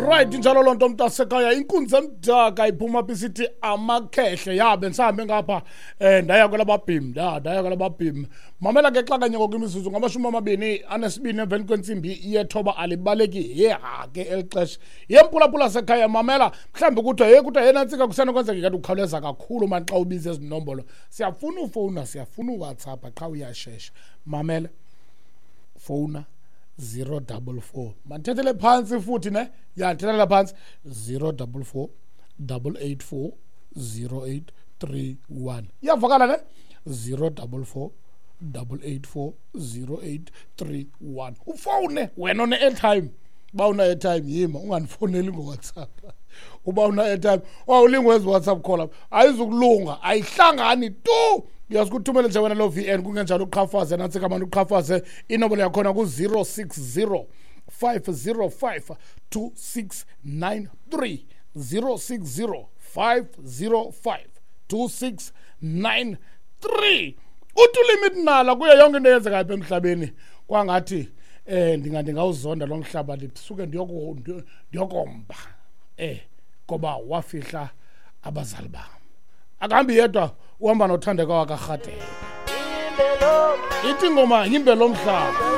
Right, injalo loo nto, mntasekhaya. Inkunzi emdaka iphuma phi? Sithi amakhehle yabe ndisahambe ngapha, ndaya kwelababhim, ndaya kwelababhim. Mamela ke, xa kanye ngoku imizuzu ngama-22 emveni kwentsimbi yethoba, alibaleki yeha ke eli xesha yempulaphula sekhaya. Mamela, mhlawumbi kuthiwa ye kuthiwa yenantsika kusenokwenzeka kanti ukhawuleza kakhulu mani xa ubiza ezi nombolo. Siyafuna ufowuna, siyafuna uWhatsApp, qha uyashesha. Mamela, fowuna 044, mandithethele phantsi futhi ne, ya, ndithethele phantsi, 044 884 0831. Iyavakala ne? 044 884 0831. Ufowune wena one-airtime. Uba una-airtime, yima, ungandifowuneli ngoWhatsApp. Uba una-airtime, wawulingwezi WhatsApp call apha ayizukulunga, ayihlangani tu. Uyazikuthumele nje wena loo VN, kungenjalo uqhafaze nantsika mani, uqhafaze inombolo yakhona ku-060 505 2693, 060 505 2693. Uthi ulimit nala kuyo yonke into eyenzekayo apha emhlabeni, kwangathi ndingawuzonda lo mhlaba, ndisuke ndiyokomba ngoba wafihla abazali bam. Akahambi yedwa, uhamba noThandeka wakarhatele. Ithi ingoma, yimbe lo mhlaba.